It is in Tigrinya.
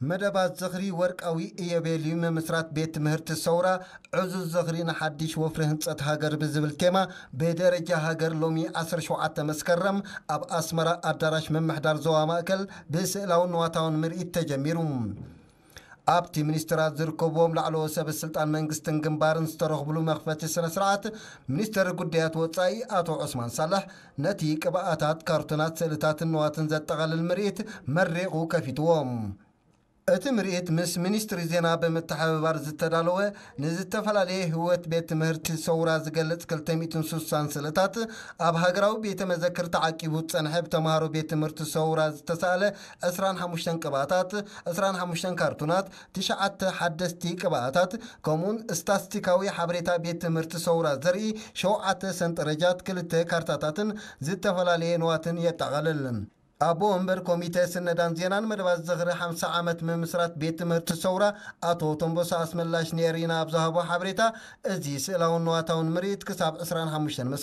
መደባት ዝኽሪ ወርቃዊ ኢዮቤልዩ ምምስራት ቤት ትምህርቲ ሰውራ ዕዙዝ ዝኽሪ ንሓድሽ ወፍሪ ህንጸት ሃገር ብዝብል ቴማ ብደረጃ ሃገር ሎሚ ዓሰርተ ሸውዓተ መስከረም ኣብ ኣስመራ ኣዳራሽ ምምሕዳር ዞባ ማእከል ብስእላውን ንዋታውን ምርኢት ተጀሚሩ። ኣብቲ ሚኒስትራት ዝርከብዎም ላዕለዎ ሰብ ስልጣን መንግስትን ግንባርን ዝተረኽብሉ መኽፈቲ ስነ ስርዓት ሚኒስትር ጉዳያት ወጻኢ ኣቶ ዑስማን ሳልሕ ነቲ ቅብኣታት፣ ካርቱናት፣ ስእልታትን ንዋትን ዘጠቓልል ምርኢት መሪቑ ከፊትዎም። እቲ ምርኢት ምስ ሚኒስትሪ ዜና ብምትሕብባር ዝተዳለወ ንዝተፈላለየ ህይወት ቤት ትምህርቲ ሰውራ ዝገልጽ ክልተ ሚእትን ስሳን ስእልታት ኣብ ሃገራዊ ቤተ መዘክር ተዓቂቡ ዝጸንሐ ብተምሃሮ ቤት ትምህርቲ ሰውራ ዝተሳእለ ዕስራን ሓሙሽተን ቅብኣታት፣ ዕስራን ሓሙሽተን ካርቱናት፣ ትሽዓተ ሓደስቲ ቅብኣታት ከምኡውን ስታስቲካዊ ሓበሬታ ቤት ትምህርቲ ሰውራ ዘርኢ ሸውዓተ ሰንጠረጃት፣ ክልተ ካርታታትን ዝተፈላለየ ንዋትን የጠቓልል። ኣቦ ወንበር ኮሚተ ስነዳን ዜናን መደባት ዝኽሪ ሓምሳ ዓመት ምምስራት ቤት ትምህርቲ ሰውራ ኣቶ ተንቦሳ ኣስመላሽ ንኤሪና ኣብ ዝሃቦ ሓበሬታ፣ እዚ ስእላውን ንዋታውን ምርኢት ክሳብ ዕስራን ሓሙሽተን